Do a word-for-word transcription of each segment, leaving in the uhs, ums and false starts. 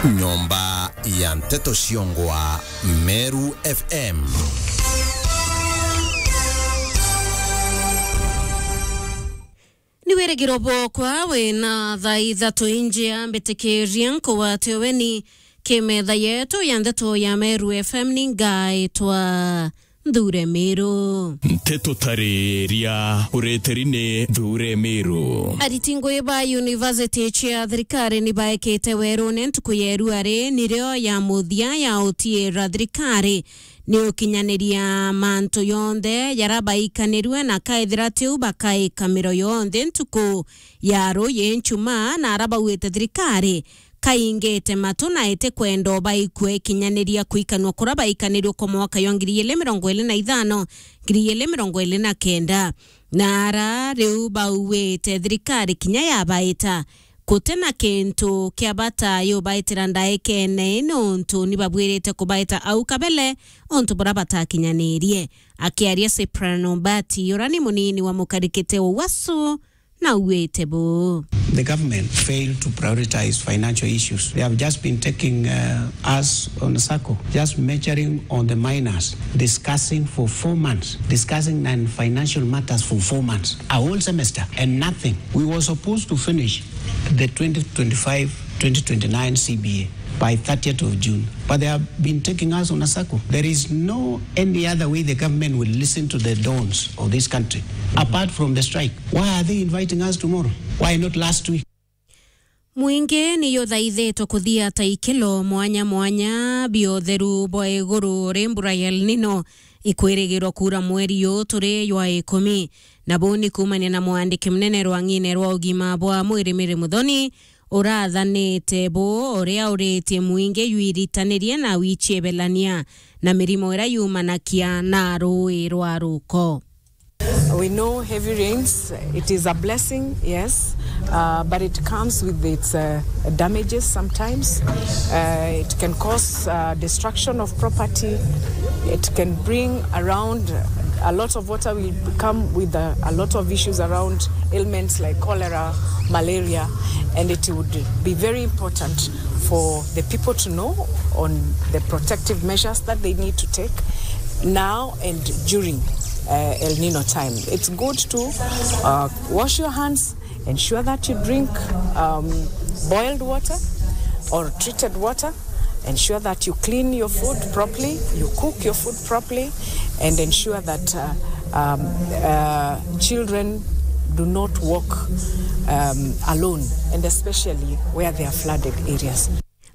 Nyomba ya nteto ciongwa Meru F M. Ni wirigiro bwokwa wina thaa ithatu injia mbitikiria nkugwate uweni ki metha yetu ya nteto ya Meru F M. Ni ngaitwa Nthure Miru. Nteto tariria ureteri ni Nthure Miru. Ariti ngui ba university cia thirikari ni baekite werune ntuku ya iruari nirio ya muthia ya utiira thirikari ni ukinyaniria mantu yonthe jara baikanirue, na kaethira tiu bakaika miro yonthe ntuku ya ruuji nchuma, na ara bauite thirikari kaingite matu na itikwenda o baikua ikinyaniria kuikanua kura baikanirue kwa mwaka jwa ngiri igiri mirongo iri na ithano, ngiri igiri mirongo iri na kenda. Na ara riu bauite thirikari kinya yabaita, guti na kintu kia bata yubaitira ndaikene ii, niuntu ni babwirite kubaita au kabele untu bura batakinyanirie. Akiaria Cyprian Obati, ura ni munini wa mukarikite Uwasu, na auite buu. The government failed to prioritize financial issues. They have just been taking, uh, us on a circle, just measuring on the minors, discussing for four months, discussing non-financial matters for four months, a whole semester, and nothing. We were supposed to finish the twenty twenty-five twenty twenty-nine C B A by thirtieth of June. But they have been taking us on a circle. There is no any other way the government will listen to the dons of this country, apart from the strike. Why are they inviting us tomorrow? Why not last week? Mwingi ni juthaithitwe kuthia taikilo mwanya mwanya bia utheru bwa iguru ri mbura ya El Nino ikwirigirwa kuura mweri uu turi jwa ikumi. Na buu ni kuumania na mwandiki munene rwang'ine rwa ugima bwa mwiri Mary Muthoni, urathanite buu uria uritie mwingi jwiritanirie na wichiebelania na mirimo iria yumanakia na ruui rwa ruko. We know heavy rains, it is a blessing, yes, uh, but it comes with its, uh, damages sometimes. Uh, it can cause, uh, destruction of property. It can bring around a lot of water will come with a, a lot of issues around ailments like cholera, malaria, and it would be very important for the people to know on the protective measures that they need to take now and during, uh, El Nino time. It's good to, uh, wash your hands, ensure that you drink, um, boiled water or treated water. Ensure that you clean your food properly, you cook your food properly, and ensure that, uh, um, uh, children do not walk, um, alone, and especially where there are flooded areas.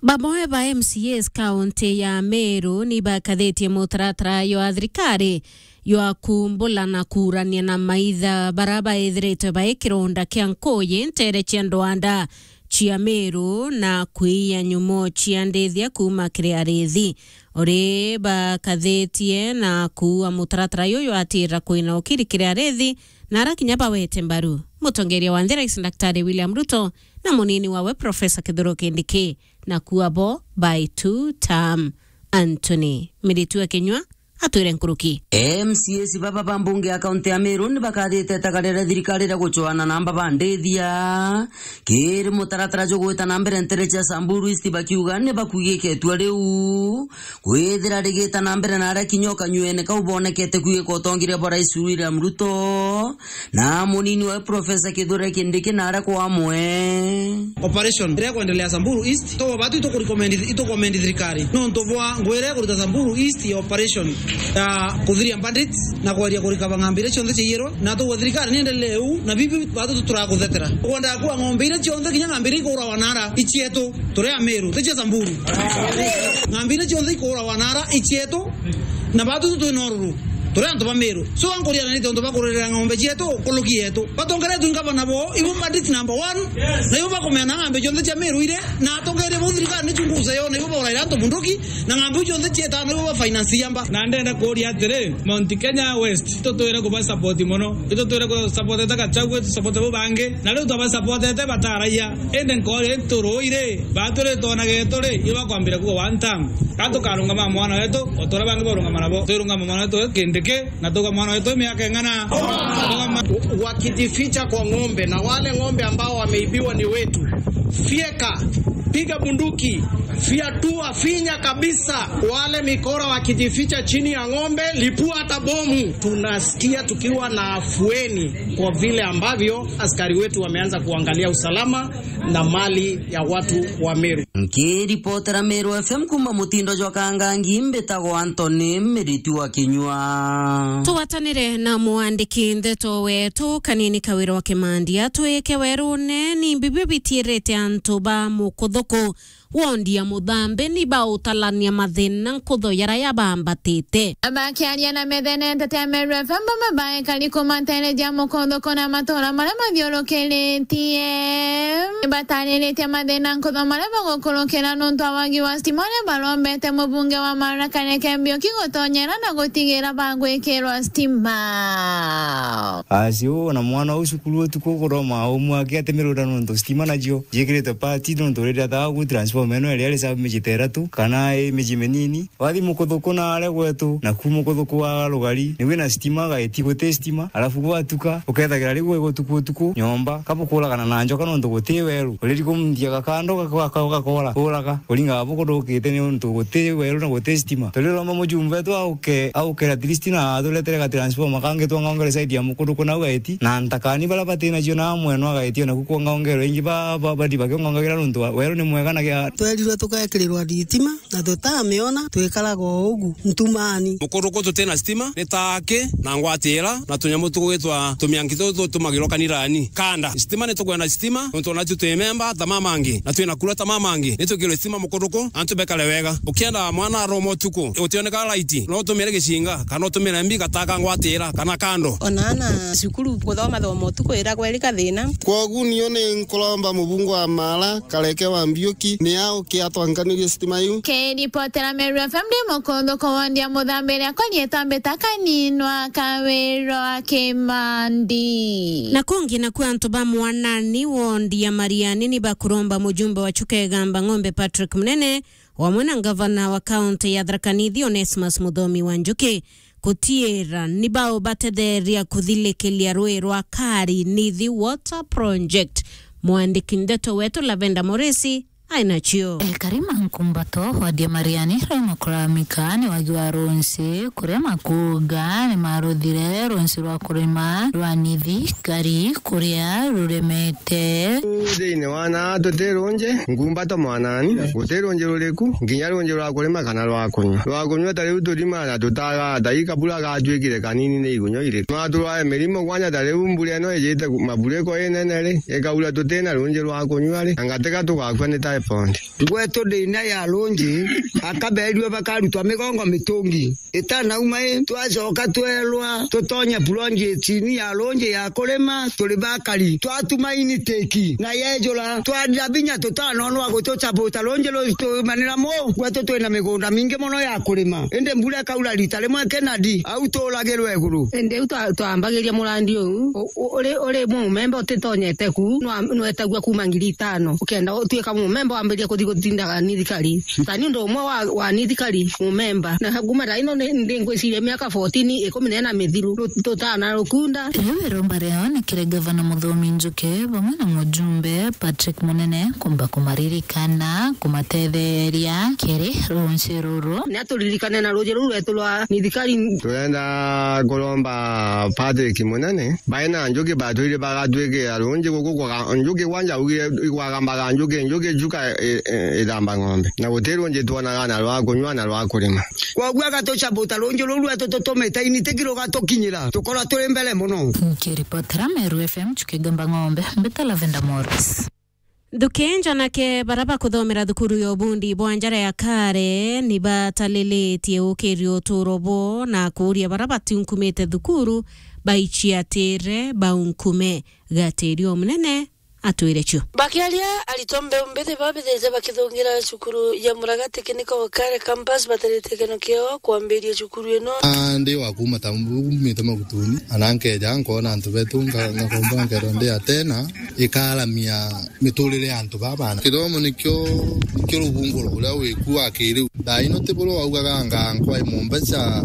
Bamwe ba M C As kaunti ya Meru ni bakathitie mutaratara jwa thirikari jwa kumbula na kuurania na maitha bara baithiritwe bai kironda kia nkuuji nteere cia ndwanda cia Meru na kwiya nyumo cia ndithia kuuma kiri arithi. Uri bakathitie na kuua mutaratara juju atira kwina ukiri kiri arithi na ara kinya bawete mbaru mutongeria wa nthi Rais Daktari William Ruto na munini wawe Professor Kithure Kindiki, na kuua bo by two term. Anthony Miritu akinyua atwire nkuruki. M C As baba ba mbunge ya kaunti ya Meru ni bakathite itagaria ria thirikari ria gucwana na amba ba ndithia kiri mutaratara jugwita na mbere ntere cia Samburu East, bakiuga ni bakuigike itua riu kwithira rigita na mbere na aria kinya ukanyuene kau bonekete kuigika utongeria bwa Rais William Ruto na munini wa Professor Kithure Kindiki na aria kwa amwe. Operation iria kwendelea Samburu East, to batu itukurecommend, itukomendi thirikari. Nontu bwa ngwire kurita Samburu East ya operation ya kuthiria bandits na kweria kurika bang'ambi iria cionthe ciaiyirwe. Na tugwe thirikari ni endelee uu, na bibi batu tuturakuthetera. Kwenda kuwa ng'ombe iria cionthe kinya ng'ambi iria ikuurawa nara icietu, turi Ameru, ti cia Samburu. Ng'ambi iria cionthe ikuurawa nara icietu, na batu tu twina ururu. Turi antu ba Meru. So, ankuriananite untu bakuririra ng'ombe cietu, nkuruki yetu. Batongeretwe ni ngavana bo, ibo bandit number one, na ibo bakumena ng'ambi cionthe cia Meru ire, na atongeria bo thirikari ni chunguza yo, na ibo bauraira antu bunduki, na ng'ambi iu cionthe cietano ibo ba finance yamba. Na ndenda kuria atiri, Mount Kenya West, itutwire kuba support mono. Itutwire ku support ta Gachagua, tu support bo bangi. Na riu twaba support te bataraia. Indi nkori nturuire, baturi twonage turi, ibo bakwambira kuga one term. Ka tukarungama mwana wetu, o ta uria bangi barungama nabo. Twirungama mwana wetu Kindiki, na tuga mwana wetu miaka ing'ana. Tuga ma- Wakijificha kwa ng'ombe, na wale ng'ombe ambao wameibiwa ni wetu, Fyeka, piga bunduki, fyatua, finya kabisa wale mikora wakijificha chini ya ng'ombe, lipua hata bomu. Tunasikia tukiwa na afueni kwa vile ambavyo askari wetu wameanza kuangalia usalama na mali ya watu wa Meru. Nkiripotera Meru F M kuuma mutindo jwa Kangangi, mbitagwa Anthony Miritu wa Kinyua. Tugwatanire na mwandiki ndeto wetu Kanini Kawira wa Kimandia, twike werune ni mbi biu bitiirite antu ba Mukuthuku wondi ya Muthambi ni bautalania mathina nkutho jaria bambatite. Bakiaria na methene nteto ya Meru F M, bamwe baekari kuuma nteere ja Mukuthuku na matura maria mathiurukiritie, batariritie mathina nkutho maria bagukurukira nontu wa wagi wa stima uria barombete mubunge wa Mara Kareke Mbiuki gutonyera na gutigira bagwikirwa stima. Asi uu na mwana uu cukuru utuku kuroma umwe akiatemirura nontu stima nacio jikiritwe pati nontu riria thaa ku transformer ino iria iri sabu miji ta iratu kana i miji minini. Wathi Mukuthuku na aria gwetu, naku Mukuthuku wa rugari, ni wina stima, gaiti guti stima, alafu gwatuka, ukethagira riu gwi gutuku utuku, nyomba, kabukuragana na njoka nontu guti weru. Uriri kumthia gakando gako gako gakora, uraga, uringa bukudukite ni untu guti weru na guti stima. Turiromba mujumbe wetu auke, auke at least na aturetere ga transformer kangi twangaongere side ya Mukuthuku nau gaiti, na ntakani baria bati nacio na amwe no gaiti, o naku kuongaongerwe ingi ba, ba, badi bakiongaongagira nontu wa, weru ni mwega na gia. Twerirwe tugekirirwa thitima. Na tutamiona, twikaraga o ugu ntumani. Mukuthuku tutina stima, ni taaki na ngwatira na tunyamu tugwitwa tumianki tutu tutumagirwa kanirani. Kanda, stima ni tukwenda stima, nontu ona tu twi memba ta mamangi, na twina kura ta mamangi. Ni twikirwe stima Mukuthuku, antu bekare wega. Ukienda mwana aroma utuku, utioneka light, no utumire gicinga, kana utumire mbi gataka ngwatira, kana kando. Ona ana cukuru kuthoma thoma utuku iragwa iri kathina. Kwogu nio ni nkuromba mubunge wa Mara, Kareke wa Mbiuki, ni auke atwankanirie stima iu. Kiripotera Meru F M ndi Mukuthuku wondi ya Muthambi iria konyetwa mbita Kaninwa Kawirwa Kimandi. Na kungi naku antu ba Mwanani wondi ya Mariani ni bakuromba mujumbe wa Chuka Igamba Ng'ombe Patrick Munene, wamwe na ngavana wa kaunti ya Tharaka Nithi Onesmus Muthomi wa Njuki, kutiira ni bao batetheria kuthilikiria rui rwa Kari Nithi Water Project. Mwandiki ndeto wetu Lavenda Moresi ainacio. Ekari ma Nkumbato, wadi ya Mariani, rui makuramika ni wagi wa runsi, kuria makuuga ni maruthire runsi rwa kurima rwa Nithi Kari kuria ruremete. Thiini wa naa tuti runji, Nkumbato Mwanani, guti runji ruriku, nginya runji rwa kurima kana rwa kunyua. Rwa kunyua ta riu turimaga na tutagaa, ta ii kabura gatuikire kanini ni igunyua iriku. Nwa turwae mirimo kwanja ta riu mbura ino ijite ku-, maburiko inene ri, ikaura tutina runji rwa kunyua ri, anga tiga tugakua ni typhoid. Gwetu ndiina ya runji, akaberirwe bakarutwa migongo mitungi. Itanauma i, twacoka twerwa tutonye project-ini ya runji ya kurima, turi bakari. Twatuma initiki na yejura, twarira binya tutanonwa gutucabuta runji rutumanira mu. Gwetu twina migunda mingi mono ya kurima, indi mbura ikaura rita rimwe kinadi, au turagirwe iguru. Indi u twa-, twambagiria murandi uu, u-, u-, uri, uri mumemba utitonyete ku, nwa-, nwetagua kuma ngiri itano. Ukenda utuika mumemba wambirie kuthi gutindaga nithikari. Ta ni undu umwe wa, wa nithikari mumemba. Na kuma thaa ino ni, ndi ngwiciria miaka fourteen, ikumi na ina mithiru, ru-, tutana rukunda. Riu iromba riao ni kiri Gavana Muthomi Njuki bamwe na mujumbe Patrick Munene kumba kumaririkana, kumatetheria kiri runci ruru. Ni aturirikane na ruji ruru rwetu rwa nithikari. Turenda kuromba Patrick Munene, baina njuki batwire bagatwikira runji guku kwa ga-, njuki kwanja augire igwagambaga njuki, njuki juka i-, i-, ithamba ng'ombe. Na guti runji twonaga na rwa kunyua na rwa kurima. Kwoguo agatucabuta runji ruu rwetu tutumite initiki rugatukinyira, tukorwa turi mbere mono. Nkiripotera Meru F M, Chuki Gamba Ng'ombe, mbita Lavenda Morris. Nthuki njanake bara bakuthomera thukuru ya ubundi bwa njara ya Kare ni batalilitie ukiria uturo bwo na kuuria bara batiunkumite thukuru baiciatire baunkume. Gatiri o munene atwire cio. Bakiaria, aritwa mbeu mbithi babithite bakithungira cukuru ya Muragati Kiniko Kare Campus batarite keno kiao kwambiria cukuru ino. Ah, ndi wa kuuma ta mbu-, mbumite Magutuni, ana nkeja nkoona antu betu, nka-, ngakomba nkethwa ndi Atena, ikaramia miturire ya antu baa bana. Kithomo nikio, nikio rubunguro ruria wi ku wa kiriu. Thaa ino ti buria waugaga anga nkwa i mumbeca,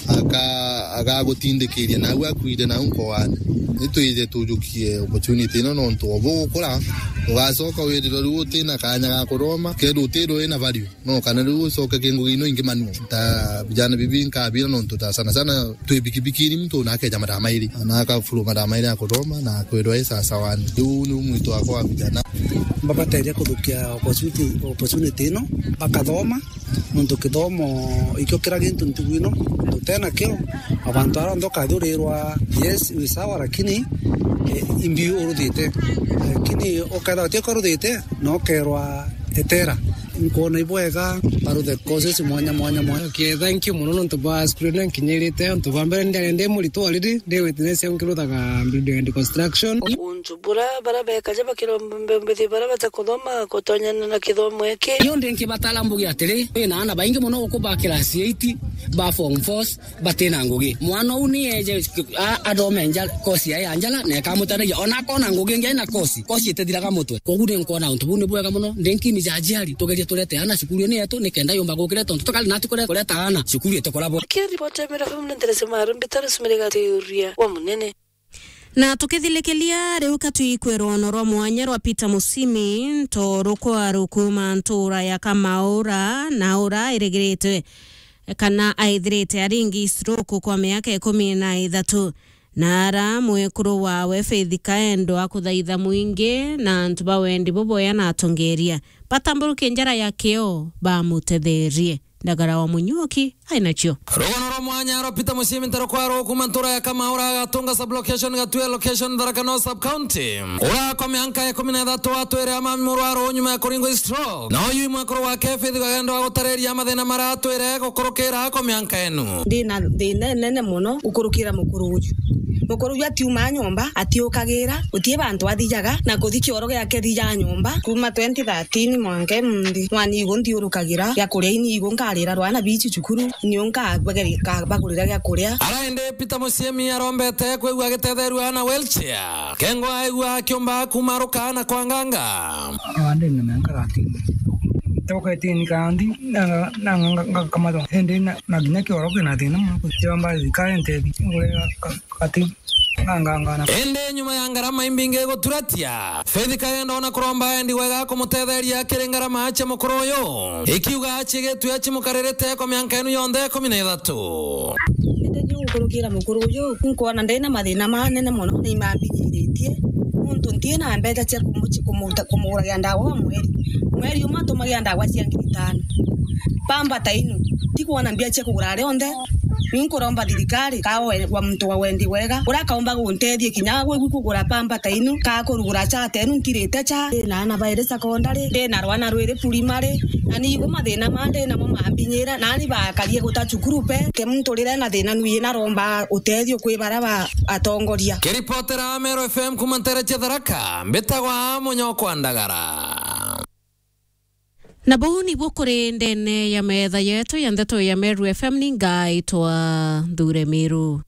Aka-, agagutindikiria nau akuire nau nkoani. Nitwije tujukie opportunity ino nontu o bugukura, ugacoka wirirwe riu utina kanya ga kuthoma, kethirwa utirwe wina value. No kana riu ucoke ki ngugi ino ingi manual. Ta vijana bibi nkabira nontu ta sana sana twi bikibikini muntu na akeja mathaa mairi, na akafuru mathaa mairi ya kuthoma na kwirwa i sawa sawa ni. Riu ni mwito wakwa wa vijana. Mbabateria kuthukia opportunity, opportunity ino, bakathoma, nontu kithomo ikio kira gintu ntugu ino, nontu utenakio, abantu aria onthe ukathurirwa, yes, wi sawa, lakini, eh, imbi uruthite. Lakini ukethirwa utio uruthite, na ukerwa etera. Nkwona ibwega, baruthe courses mwanya, mwanya, mwanya. Okay, thank you mono nontu bwa screen nkinyirite. Nontu bwa mbere ndiari ndi murito already, ndi witness nkiruthaga building and construction. Untu bura bara bekaja bakiromba mbethi bara batakuthoma kutonyana na kithomo iki. Yo ndi nkibatara mbuge atiri, ina ana baingi mono guku ba class eight, ba form fours, batina ngugi. Mwana uu ni eje a-, athome nja-, kosi yae ya njara, na ikamutetheria. Ona akona ngugi ingi aina kosi, kosi itithiraga mutwe. Koguo ni nkwona untu buu ni bwega mono. Ndi nkimi ja aciari, tugerie turete ana cukuru ni yetu, nikenda yumba gukira tontu tukari natu kure-, kureta ana cukuru itukora bo. Kiri ripoti ya Mira F M ni Therese Maru, mbitari Sumire Gatiuria wa Munene. Na tukithilikiria riu ka twikwirwa ono rwa mwanya rwa Peter Musimi, nto rukwa rukuma ntura ya Kamaura, na ura irigiritwe kana aithirite aringi stroke kwa miaka ikumi na ithatu. Na ara mwekuru wawe Faith Kaendo akuthaitha mwingi na antu ba wendi buboya na atongeria batamburuke njara ya kio bamutetherie. Ndagara wa Munyuki ainacio. Rugono rwa mwanya rwa Peter Musimi ntaro kwa rwo kuma ntura ya Kamaura agatunga sub location Gatue location Tharaka North sub county. Ura kwa mianka ya ikumi na ithatu atwire amami murwaru nyuma ya kuringwa stroke. Na uyu mwekuru wake Faith Kaendo agutareria mathina mara atwire gukurukira kwa mianka enu. Ndi na thina inene mono gukurukira mukuru uju. Mukuru uju atiumaa nyomba, atiukagira, gutii bantu athijaga, na kuthi kioro giake thija nyomba. Kuma twenty thirteen mwanka imunthi, mwana igu nthiurukagira, gia kuria ini igu nkarira rwana bici cukuru, niu nkabagurira gia kuria. Ara indi Peter Musimi arombete kwigua agitetheerua na wheelchair. Kengwa aigua akiumba kumaruka na kwanganga. Andi na mianka thirteen. Toka itini kandi, na, na, na, ngakamatwa. Indi na, na nginya kioro kina thina mono, kuciomba thirikari ntethi. Ngurega ka-, kati, ngangangana. Indi nyuma ya ngarama imbingi guturatia, Faith Kaendo ona kuromba endi wega kumutetheria kiri ngarama cia mukuru uyu. Ikiuga acigitwe acimukaririte kwa mianka enu yonthe ikumi na ithatu. Ndeje gukurukira mukuru uyu, nkwona ndina mathina manene mono, ni mambinyiritie. Nontu ntina mbeca cia kumu-, cia kumuta-, kumuguragira ndawa wa mweri. Mweri umwe atumagira ndawa cia ngiri itano. Pamba ta inu, tikwona mbia cia kugura rionthe. Ni nkuromba thirikari, ka we-, wa muntu wa wendi wega, uria akaumba guntethia kinya gwi-, gwi kugura pamba ta inu, ka kurugura cha ta inu, ntirite cha. Ndina ana bairi secondary, ndina rwana rwiri primary, na ni igu mathina ma ndinamo mambinyira, nani bakarie guta cukuru pe. Ke muntu rire na thina nui naromba utethio kwi baria ba atongoria. Kiripotera Meru F M kuma ntere cia Tharaka, mbitagwa Munyokwa Ndagara. Na buu nibuo kuri ndene ya metha yetu ya ndeto ya Meru F M, ni ngaitwa Nthure Miru.